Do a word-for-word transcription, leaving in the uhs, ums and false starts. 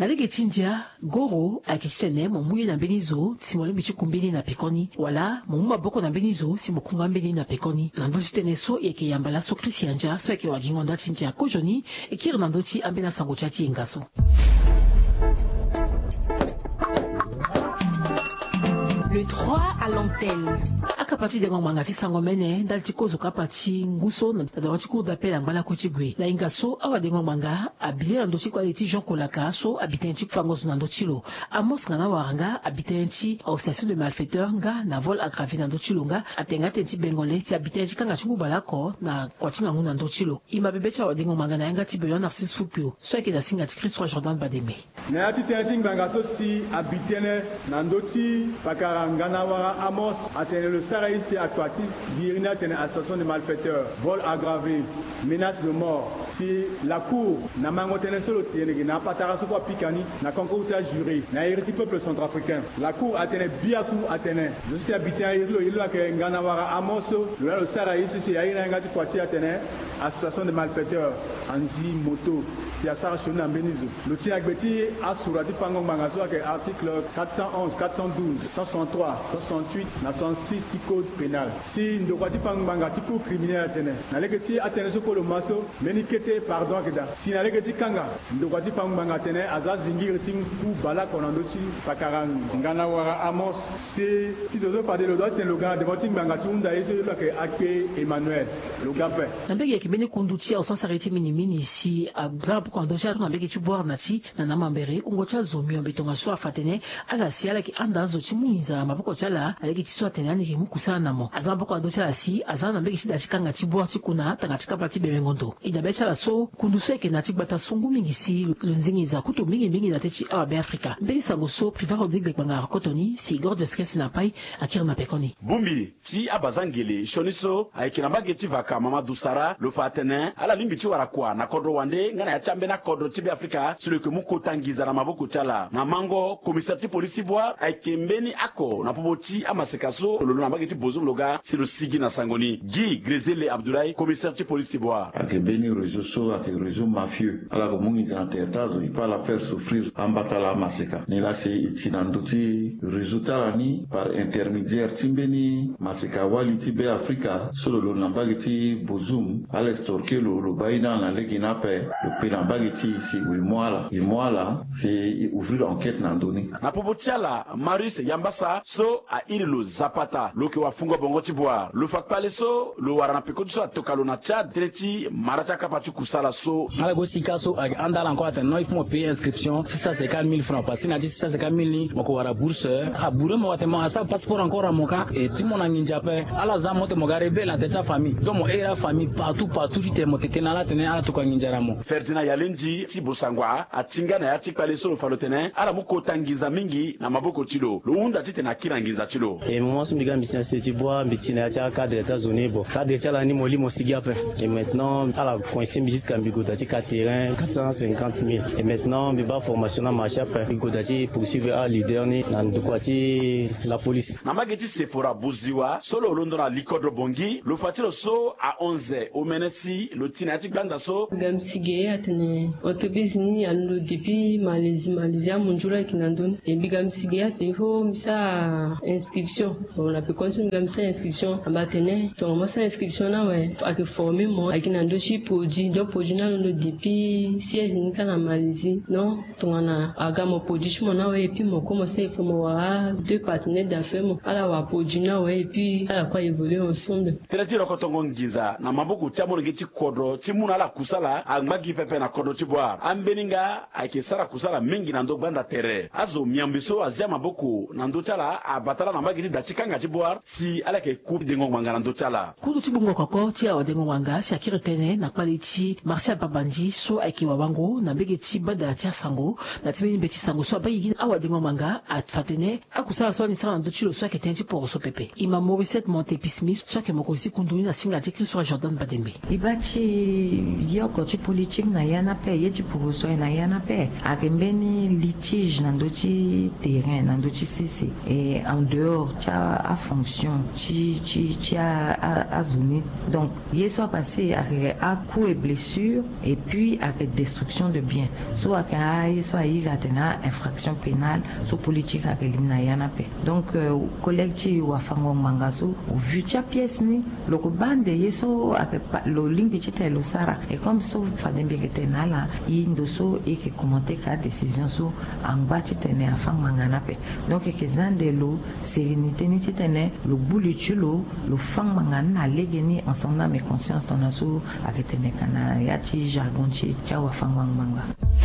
Na lege ti ndia, goro ayeke titene mo mu ye na mbeni zo si mo lingbi ti ku mbeni na pekoni, wala mo mu maboko na mbeni zo si mo ku nga mbeni na pekoni. Na ndö ti tënë so e yeke yamba laso Christian Dia so ayeke wagingo nda ti ndia kozoni, e kiri na ndö ti ambeni asango ti ya ti yenga so. Le droit à l'antenne. Akapa ti dengo ngbanga ti sango mene ndali ti kozo kapa ti ngu so na dawa ti cour d'appel angba lakue ti gue na yenga so awadengo ngbanga abi le na ndö ti kpale ti Jean Kolaka so abi tënë ti fango zo na ndö ti lo. Amos nga na wara nga abi tënë ti association de malfaiteurs nga na vol aggravé na ndö ti lo nga atene nga tënë ti bengo le si abi tënë ti kanga ti ngu baleoko na kua ti ngangu na ndö ti lo. E ma bebe ti awadengo ngbanga na yanga ti Benoît Narcisse Fukio so ayeke na singa ti Christ Roi Jordan Bademe. Na ya ti tënë ti ngbanga so si abi tënë na ndö ti pakara Nganawara Amos atene lo sara ye si akua ti diri ni atene association de malfaiteurs, vol aggravé, menace de mort. Si la cour na mango tënë so lo tene ge na apatara so kue apika ni na concours ti ajuré na iri ti peuple centrafricain. La cour atene biaku atene zo so si abi tënë ayeke lo ye lo ayeke Nganawara Amos so lo na lo sara ye so si airi na yanga ti kua ti e atene association de malfaiteurs, anzi moto si asara sioni na mbeni zo. Lo ti na gbe ti asura ti fango ngbanga so ayeke article quatre cent onze, quatre cent douze, cent soixante-trois, cent soixante-huit na soixante-six ti code pénal. Si ndokua ti fango ngbanga ti cour criminel atene na lege ti atënë so kue lo ma so mbeni kete pardon ayeke daa. Si na lege ti kanga, ndokua ti fango ngbanga atene aza zingiri ti ngu baleoko na ndö ti pakara Nganawara Amos. Si ti zo so fade lo doit ti tene lo ga na devant ti ngbanga ti hunda ye so ye lo ayeke akpe Emmanuel. Lo ga ape. Na mbege ayeke mbeni kundu ti aosasare ti minimini si aza maboko na ndö ti ala so na mbege ti Bouar na ti na na mambere wungo ti azo miombe tongaso afa atene ala si ala yeke handa azo ti mu nginza na maboko ti ala na lege ti so atene ani yeke mu kusala na mo. Aza maboko na ndö ti ala si aza na mbege ti da ti kanga ti Bouar ti kuna tanga ti kapa ti Bemengondo. E dabe ti ala so kundu so ayeke na ti gbata so ngu mingi si lo zingi nginza kutu mingi mingi na teti awa Beafrika. Mbeni sango so Privat Rodrigue Lekpanga arokoto ni si Gordias Kesi na Pai akiri na pekoni. Bongbi ti abazangele sioni so ayeke na mbage ti vaka Mamadou Sara lo fa atene ala lingbi ti wara kua na kodro wande nga na ya ti ambeni akodro ti Beafrika si lo yeke mu kota nginza na maboko ti ala. Na mango, commissaire ti polisi ti Bouar ayeke mbeni oko na popo ti amaseka so lo londo na mbage ti Bozoum lo ga si lo sigi na sango ni. Guy Grezele Abdoulaye, commissaire ti polisi ti Bouar. Ayeke mbeni réseau so ayeke réseau mafieux. Ala yeke mu nginza na tere ti azo, e peut ala faire souffrir ambata ala amaseka. Nilaa si e ti na ndö ti réseau ti ala ni par intermédiaire ti mbeni maseka wali ti Beafrika so lo londo na mbage ti Bozoum, ala extorquer lo, lo baa ye ni ala na lege ni ape, lo kpe na mbage ti e si e mu ala, e mu ala si e ouvrir enquête na ndö ni. Na popo ti ala, Marius Yambasa so airi lo Zapata, lo yeke wafungo bongo ti Bouar, lo fa kpale so lo wara na peko ti so atoka lo na Tchad tënë ti mara ti akapa ti kusala so. Ala go sika so ayeke handa ala encore atene non, il faut mo payer inscription six cent cinquante mille francs, parce que na ya ti six cent cinquante mille ni mo yeke wara bourse. Abouré mo atene mo asara passeport encore na mo ka, e ti mo na nginza ape. Ala za mo tene mo ga rebelle na tere ti afamille, donc mo iri afamille partout partout ti tene mo tene na ala atene ala tokua nginza na mo. Ferdinand Yalendi ti Bossangoa atinga na ya ti kpale so lo fa lo tene ala mu kota nginza mingi na maboko ti lo. Lo hunda titene akiri na nginza ti lo. E moment so mbi ga mbi si na site ti Bouar, mbi ti na ya ti acadre ti azo ni, bon, cadre ti ala ni mo li mo sigi ape. Et maintenant ala coincer mbi jusqu'à mbi gue daa ti ka terrain quatre cent cinquante mille. Et maintenant mbi baa formation ni amarché ape, mbi gue daa ti poursuivre aleader ni na ndokua ti la police. Na mbage ti Sephora Bouziwa so lo londo na likodro Bangui, lo fa ti lo so ahon ze omene si lo ti na ya ti gbanda so. Mbi ga mbi si ge atene entreprise ni alondo depuis Malaisie, Malaisie amunzu lo ayeke na ndö ni. E mbi ga mbi si ge atene il faut mbi sara inscription. Bon, na peko ni so mbi ga mbi sara inscription, aba atene tongana mo sara inscription ni awe, ayeke former mo ayeke na ndö ti produit, donc produit ni alondo depuis siège ni kâ na Malaisie. Non, tongana aga mo produit ti mo ni awe, et puis mo kue mo sara, il faut mo wara deux partenaires d'affaires mo, ala wara produit ni awe, et puis ala kue a évoluer ensemble. Tënë ti rokotongo nginza na maboko ti amolenge ti kodro ti mu na ala kusala angba gi pepe na kodro ti Bouar. Ambeni nga ayeke sara kusala mingi na ndö gbanda tere. Azo miombe so azia maboko na ndö ti ala abata ala na mbage ti da ti kanga ti Bouar si ala yeke ku dengo ngbanga na ndö ti ala. Kundu ti gbungo koko ti awadengo ngbanga si akiri tënë na kpale ti Martial Pabandji so ayeke wawango na mbage ti bada ti asango na ti mbeni mbeti sango so abaa gigi na awadengo ngbanga afa tene akusala so ani sara na ndö ti lo so ayeke tënë ti poroso pepe. E ma Mauricette Monte Pismi so ayeke mokonzi ti kundu ni na singa ti Christ Roi Jordan Badembe. E baa ti yoko ti politique na ya Ape ye ti poroso aye na ya ni ape ayeke mbeni litige na ndö ti terrain na ndö ti sese, e en dehors ti afonction ti ti ti azo ni. Donc ye so apase ayeke acoût et blessure, et puis ayeke destruction de bien. So ayeke aye so aye iri atene a infraction pénale so politique ayeke li na ya ni ape. Donc collègue ti wafango ngbanga so, au vu ti apièce ni, lo ko baa nde ye so ayeke pa lo lingbi titene lo sara. Et comme so fade mbi yeke tene na ala, e ndo so e yeke commenter ka adécision so angba titene afâ ngbanga ni ape. Donc e yeke za nde lo sérénité ni titene lo gbu li ti lo, lo fâ ngbanga ni na lege ni en son âme et conscience tongana so ayeke tene ka na ya ti jargon ti ti awafango ngbanga.